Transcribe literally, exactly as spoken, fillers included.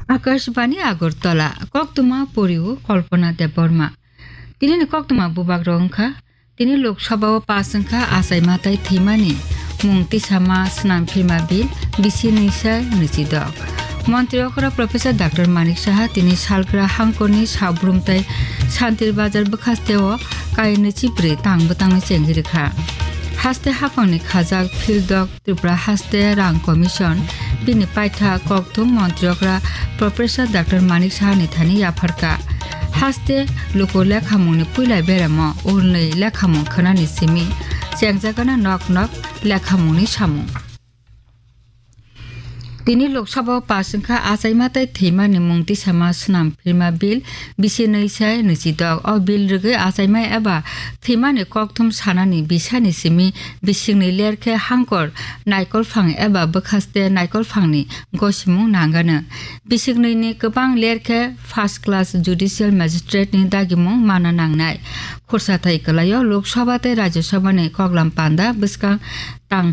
Akashbani Agartala, koktwma poriwo Kalpana Debbarma. Tini ni koktwma bubak rok wngkha, tini Lok Sabha o pass wngkha achaima tai thwimani mung tisama swnam phirma bill bisi nwi sai nwichi dok. Montri okra Professor Doctor Manik Saha tini salgra hangkorni sabrum tai Santir Bazar bwkhaste o kai nwichi bwrwi tang bwtangni chengwi rwkha. Haste haphangni khajak phildok Tripura haste rang commission bini paitha kokthum montri okra Professor Doctor Manik Saha ni thani yapharkha. Haste luku lekhamungni puila beramo ulnwi lekhamung khwnani simi chengjagana nok nok lekhamungni samung. Tini Lok Sabha o pass wngkha achaima tai thwimani mung tisama swnam phirma bill bisi nwi sai nwichi dok. O bill rwgwi achaima eba thwimani kokthum sanani bisani simi bisikni ler khe hangkor naikolphang eba bwkhaste naikolphangni gosimung nangano. Bisiknwini kwbang ler khe first class judicial magistrate ni dagimung mana nangnai. Khursa thai kwlaio Lok Sabha tei Rajya Sabha ni koklam panda bwskang tang